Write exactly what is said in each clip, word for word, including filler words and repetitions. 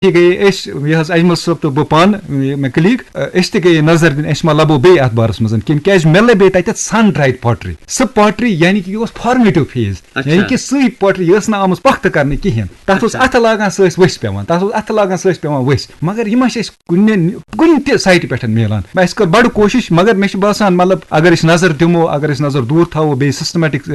یہِ گٔیے أسۍ، یہِ حظ اجمل صٲب تہٕ بہٕ پانہٕ، یہِ مےٚ کلیٖگ، أسۍ تہِ گٔیے نظر دِنہِ، اَسہِ ما لبو بیٚیہِ اَتھ بارَس منٛز کِنہٕ، کیٛازِ مےٚ لَبے تَتٮ۪تھ سَن ڈرٛایِڈ پاٹری۔ سُہ پاٹری یعنی کہِ یہِ اوس فارمیٹِو فیز، اچھا۔ یعنی کہِ سُے پاٹری، یہِ ٲس نہٕ آمٕژ پۄختہٕ کرنہٕ کِہیٖنۍ۔ تَتھ اوس اچھا۔ اَتھٕ لاگان سُہ ٲسۍ ؤسۍ پٮ۪وان، تَتھ اوس اَتھٕ لاگان سُہ ٲسۍ پٮ۪وان ؤسۍ۔ مگر یہِ ما چھِ اَسہِ کُنہِ، کُنہِ تہِ سایٹہِ پٮ۪ٹھ مِلان۔ اَسہِ کٔر بَڑٕ کوٗشِش، مگر مےٚ چھُ باسان، مطلب، اگر أسۍ نظر دِمو، اگر أسۍ نظر دوٗر تھاوو، بیٚیہِ سِسٹمیٹِک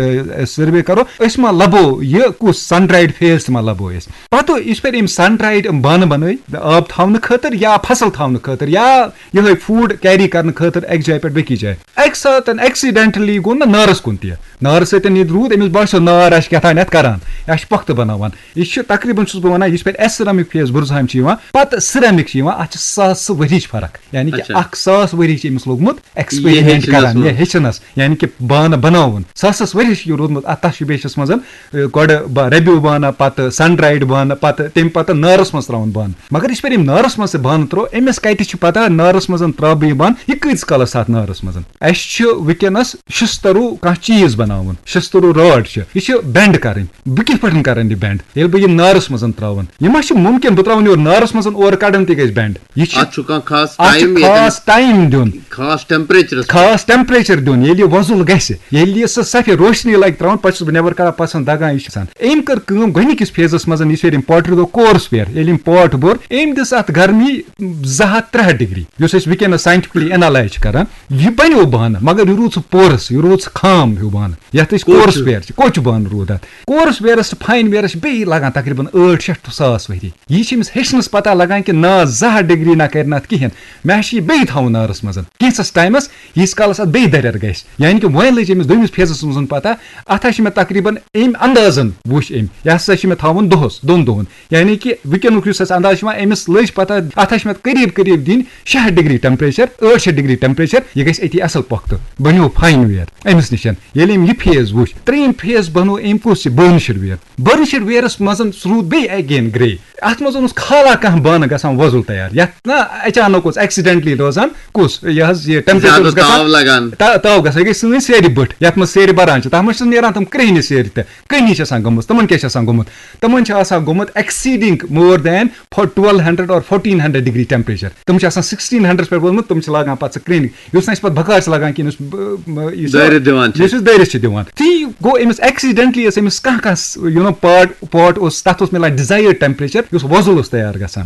سٔروے کَرو، أسۍ ما لَبو یہِ کُس سَن ڈرٛایِڈ فیز تہِ ما لَبو أسۍ۔ پَتہٕ یِژھ پھِرِ أمۍ سَن ڈرٛایِڈ بانہٕ بَنٲے آب تھاونہٕ خٲطرٕ یا فصٕل تھاونہٕ خٲطرٕ یا یِہوٚے فوٗڈ کیری کَرنہٕ خٲطرٕ اَکہِ جایہِ پٮ۪ٹھ بیٚکِس جایہِ۔ اَکہِ ساتہٕ ایکسیڈنٹلی گوٚو نہ نارَس کُن تہِ، نارَس سۭتۍ ییٚتہِ روٗد، أمِس باسیو نار آسہِ کیٛاہ تام یَتھ کَران، یہِ آسہِ پۄختہٕ بَناوان۔ یہِ چھُ تقریٖباً، چھُس بہٕ وَنان، یِژھ پھِرِ اَسہِ سِرَمِک فیز بُرزہامہِ چھِ یِوان، پَتہٕ سِرَمِک چھِ یِوان، اَتھ چھِ ساسہٕ ؤرِہِچ فرق، یعنی کہِ اچھا۔ اَکھ ساس ؤری چھِ أمِس لوٚگمُت ایکسپیرمنٹ ہیٚچھنَس کَران، منٛز۔ یہِ ہیٚچھنَس، یعنی کہِ بانہٕ بَناوُن۔ ساسَس ؤرِہِچ چھِ یہِ روٗدمُت اَتھ تَشبیشَس منٛز، اے، گۄڈٕ با-، ربیو بانہٕ، پَتہٕ سَن ڈرٛایِڈ بانہٕ، پَتہٕ تَمہِ پَتہٕ نارَس منٛز ترٛاوُن بانہٕ۔ مگر یِژھ پھِرِ أمۍ نارَس منٛز تہِ بانہٕ ترٛوو، أمِس کَتہِ چھِ پَتہ نارَس منٛز ترٛاوٕ بہٕ یہِ بانہٕ، یہِ کۭتِس کالَس تَتھ نارَس منٛز؟ اَسہِ چھُ وٕنکیٚنَس شِستٕروٗ کانٛہہ چیٖز بَناوُن، شِستٕروٗ راڈ چھِ، یہِ چھِ بٮ۪نٛڈ کَرٕنۍ۔ بہٕ کِتھ پٲٹھۍ کَرَن یہِ بٮ۪نٛڈ ییٚلہِ بہٕ یہِ نارَس منٛز ترٛاوَن؟ یہِ ما چھُ مُمکِن بہٕ ترٛاوَن یورٕ نارَس منٛز، اورٕ کَڑَن تہِ گژھِ بٮ۪نٛڈ؟ یہِ چھِ اَتھ چھُ کانٛہہ خاص اَتھ چھُ ٹایم ییٚتٮ۪ن خاص ٹایم دیُن۔ خاص ٹیمپریچرس پٮ۪ٹھ۔ خاص ٹیمپریچر دیُن، ییٚلہِ یہِ وۄزُل گژھِ، ییٚلہِ یہِ سۄ سفید روشنی لگہِ ترٛاوُن، پتہٕ چھُس بہٕ نٮ۪بر کڑان، پتہٕ چھُس دگان، یہِ چھُ گژھان۔ أمۍ کٔر کٲم گۄڈٕنِکِس فیزس منٛز، یُس ییٚلہِ أمۍ پاٹری دوٚپ کورس ویر، ییٚلہِ أمۍ پاٹ بوٚر، أمۍ دِژ اتھ گرمی زٕ ہتھ ترٛےٚ ہتھ ڈگری، یُس أسۍ وٕنکیٚنس ساینٹیفکلی انالائز چھِ کران۔ یہِ بنیو بانہٕ، مگر یہِ روٗد سُہ پورس، یہِ روٗد سُہ خام ہیوٗ بانہٕ، یتھ أسۍ کوٚت کورس چھُ؟ ویر چھِ، کوٚت چھُ بانہٕ روٗد اتھ؟ کورس ویرس تہٕ فاین ویرس چھِ بیٚیہِ لگان تقریباً ٲٹھ شیٚتھ ٹُو ساس ؤری۔ یہِ چھِ أمِس ہیٚچھنَس پتہ لگان کہِ نہ، زٕ ہتھ ڈگری نہ کرِ نہ اَتھ کِہیٖنۍ، مےٚ چھِ یہِ بیٚیہِ تھاوُن نارَس منٛز۔ کینٛژھَس ٹایمَس، ییٖتِس کالَس اَتھ بیٚیہِ دَرٮ۪ر گژھِ۔ یعنی کہِ وۄنۍ لٔج أمِس دوٚیمِس فیزَس منٛز پَتہ، اَتھ ہا چھِ مےٚ تقریباً أمۍ اندازَن وٕچھ أمۍ، یہِ ہسا چھِ مےٚ تھاوُن دۄہَس، دۄن دۄہَن۔ یعنی کہِ وٕنکیٚنُک یُس اَسہِ انداز چھُ یِوان، أمِس لٔج پَتہ، اَتھ ہا چھِ مےٚ قریٖب قریٖب دِنۍ شےٚ ہَتھ ڈگری ٹیمپریچر، ٲٹھ شیٚتھ ڈگری ٹیمپریچر، یہِ گژھِ أتی اَصٕل پۄختہٕ۔ بَنیو فاین ویر أمِس نِش۔ ییٚلہِ أمۍ یہِ فیز وٕچھ، ترٛیٚیِم فیز بَنوو أمۍ کُس یہِ بٔرنشِڈ ویر۔ بٔرنشِڈ ویرَس منٛز سُہ روٗد بیٚیہِ اگین گرے۔ اَتھ منٛز اوس خالہ کانٛہہ بانہٕ گژھان وۄزُل تیار، یَتھ نہ اچانک اوس ایکسیڈنٹلی روزان کُس، یہِ حظ یہِ ٹیمپریچر زیادٕ اوس گژھان۔ تاو لگان۔ تا-، تاو گژھان، یہِ گٔے سٲنۍ سیرِ بٔٹھۍ، یَتھ منٛز سیرِ بَران چھِ، تَتھ منٛز چھِ نیران تِم کرٛیٚہنہِ سیرِ تہِ۔ کٔہنہِ چھِ آسان گٔمٕژ، تِمَن کیٛاہ چھِ آسان گوٚمُت؟ تِمَن چھِ آسان گوٚمُت exceeding more than for twelve hundred or fourteen hundred degree temperature۔ تِم چھِ آسان sixteen hundred پٮ۪ٹھ ووتمُت، تِم چھِ لاگان پَتہٕ سُہ کرٛیٚہنہِ، یُس نہٕ اَسہِ پَتہٕ بکار چھِ لگان کِہیٖنۍ، یُس ب-، م-، یُس دٲرِتھ دِوان چھِ۔ یُس أسۍ دٲرِتھ چھِ دِوان۔ تی گوٚو أمِس ایکسیڈنٹلی ٲس أمِس کانٛہہ کانٛہہ س-، یہِ نو پاٹ، پاٹ اوس، تَتھ اوس مِلان ڈِزایٲرڈ ٹیمپریچر، یُس وۄزُل اوس تیار گژھان۔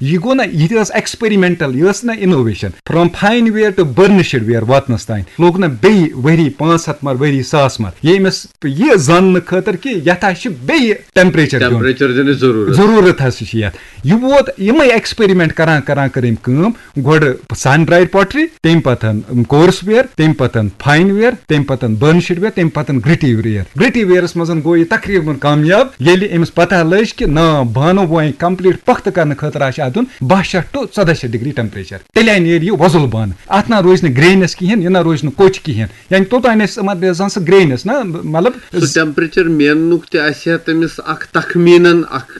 یہِ گوٚو نہ، یہِ تہِ ٲس ایکسپیریمنٹل، یہِ ٲس نہ innovation. From fine ware to burnished ware واتنس تام لوٚگ نہ بیٚیہِ ؤری پانٛژھ ہتھ مر، ؤری ساس مر، ییٚمِس یہِ زاننہٕ خٲطرٕ کہِ یتھ ہا چھِ بیٚیہِ ٹیمپریچر دیُن۔ ٹیمپریچر دِنٕچ ضروٗرت۔ ضروٗرت حظ چھِ یتھ۔ یہِ ووت یِمے ایکسپیریمنٹ کران کران کٔر أمۍ کٲم، گۄڈٕ سن ڈرایڈ پاٹری، تَمہِ پتہٕ کورس ویر، تَمہِ پتہٕ فاین ویر، تَمہِ پتہٕ بٔرنشڈ ویر، تَمہِ پتہٕ گرٹی ویر۔ گرٹی ویرس منٛز گوٚو یہِ تقریباً کامیاب، ییٚلہِ أمِس پتہ لٔج کہِ نا، بانہٕ وۄنۍ کمپلیٹ پۄختہٕ کرنہٕ خٲطرٕ آسہِ اتھ دیُن باہ شیٚتھ ٹُو ژۄداہ شیٚتھ ڈگری ٹیمپریچر، تیٚلہِ نیرِ یہِ وۄزُل بانہٕ۔ اتھ نہ روزِ نہٕ گرینس کِہینۍ، یہِ نہ روزِ نہٕ کوٚچ کِہینۍ، یعنی توٚتام آسہِ یِمن دِوان سُہ گرینس نہ، مطلب سُہ ٹیمپریچر میننُک تہِ آسہِ ہا تٔمِس اکھ تخمینن اکھ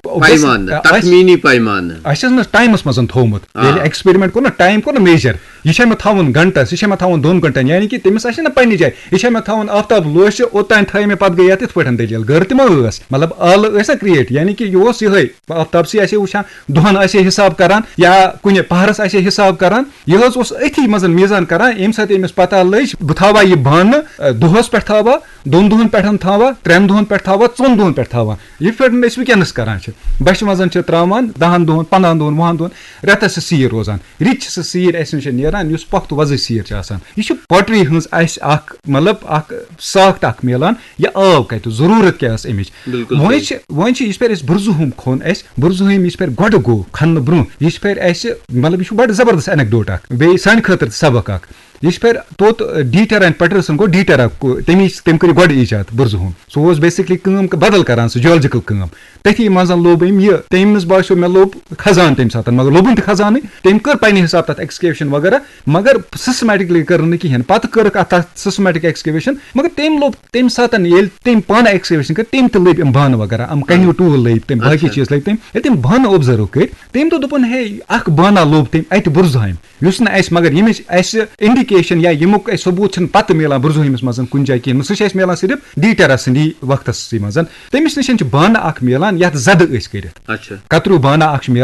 وۄنۍ پیمانہٕ، آسہِ، تخمینی پیمانہٕ۔ اَسہِ ٲس نہٕ ٹایمَس منٛز تھوٚومُت۔ آ۔ ییٚلہِ ایکسپیرمنٹ کوٚر نہ، ٹایم کوٚر نہ میجر، یہِ چھا مےٚ تھاوُن گھنٹَس، یہِ چھا مےٚ تھاوُن دۄن گھنٹَن، یعنی کہِ تٔمِس آسہِ نہ پننہِ جایہِ، یہِ چھا مےٚ تھاوُن آفتاب لوشہِ، اوٚتام تھٲے مےٚ، پَتہٕ گٔے یَتھ یِتھ پٲٹھۍ دٔلیٖل، گٔر تہِ ما ٲس؟ مطلب، آلہٕ ٲسۍ نہ کریٹ، یعنی کہِ یہِ اوس یِہوٚے، آفتاب سٕے آسہِ ہے وٕچھان، دۄہَن آسہِ ہے حِساب کران یا کُنہِ پہرَس آسہِ ہے حِساب کران، یہِ حظ اوس أتھی منٛز میزان کران، ییٚمہِ ساتہٕ أمِس پتہ لٔج، بہٕ تھاوہا یہِ بانہٕ، اَ، دۄہَس پٮ۪ٹھ تھاوہا، دۄن دۄہَن پٮ۪ٹھ تھاوہا، ترٛٮ۪ن دۄہَن پٮ۪ٹھ تھاوہا، ژۄن دۄہَن پٮ۪ٹھ تھاوہا۔ یِتھ پٲٹھۍ أسۍ وٕنکیٚنَس کران چھِ، بَچھِ منٛز چھِ ترٛاوان دَہَن دۄہَن، پنٛدہَن دۄہَن، وُہَن دۄہَن، رٮ۪تَس چھِ سیٖر روزان۔ رِتۍ چھِ سۄ سیٖر اَسہِ نِش نیران، یُس پۄختہٕ وۄزٕج سیٖر چھِ آسان۔ یہِ چھِ پوٹری ہٕنٛز اَسہِ اَکھ، مطلب، اَکھ ساخت اَکھ میلان، یہِ آو کَتہِ، ضروٗرت کیٛاہ ٲس اَمِچ؟ بِلکُل وۄنۍ صحیح۔ چھِ، وۄنۍ چھِ یِژھ پھِرِ اَسہِ بُرزُہوم کھوٚن اَسہِ، بُرزُہوم یِژھ پھِرِ گۄڈٕ گوٚو کھننہٕ برٛونٛہہ، یِژھ پھِرِ اَسہِ، مطلب، یہِ چھُ بَڑٕ زبردست انیکڈوٹ اَکھ، بیٚیہِ سانہِ خٲطرٕ تہِ سبق اَکھ۔ یِژھ پھِرِ توٚت ڈیٖٹر اینڈ پیٹرسن گوٚو ڈیٖٹر اَکھ، تٔمی، تٔمۍ کٔر یہِ گۄڈٕ ایجاد بُرزُہوم۔ سُہ اوس بیسکلی کٲم بدل کران، سُہ جیولجیکل کٲم۔ تٔتھی منٛز لوٚب أمۍ یہِ، تٔمِس باسیو مےٚ لوٚب خزانہٕ تَمہِ ساتہٕ، مگر لوٚبُن تہِ خزانٕے۔ تٔمۍ کٔر پننہِ حساب تَتھ ایکسکیویشن وغیرہ، مگر سسٹمیٹکلی کٔر نہٕ کِہینۍ۔ پتہٕ کٔرٕکھ اَتھ، تَتھ سسٹمیٹک ایکسکیویشن، مگر تٔمۍ لوٚب تَمہِ ساتہٕ، ییٚلہِ تٔمۍ پانہٕ ایکسکیویشن کٔر، تٔمۍ تہِ لٔبۍ یِم بانہٕ وغیرہ، یِم کنیو ٹوٗل لٔبۍ تٔمۍ، باقٕے اچھا۔ چیٖز لٔبۍ تٔمۍ۔ ییٚلہِ تٔمۍ بانہٕ اوبزرو کٔرۍ، تٔمۍ دوٚپ، دوٚپُن، ہے، اکھ بانہ لوٚب تٔمۍ اَتہِ بُرزہامہِ، یُس نہٕ اَسہِ، مگر ییٚمِچ اَسہِ انڈی-، کیشن یا ییٚمیُک اَسہِ ثبوٗت چھُنہٕ پتہٕ میلان برزوہمِس منٛز کُنہِ جایہِ کِہیٖنۍ، سُہ چھُ اَسہِ میلان صرف ڈیٹرس سٕنٛدی وقتس سٕے منٛز۔ تٔمِس نِش چھِ بانہٕ اکھ میلان یتھ زدٕ أسۍ کٔرِتھ، اچھا۔ کتریو بانہٕ اکھ چھُ میلان۔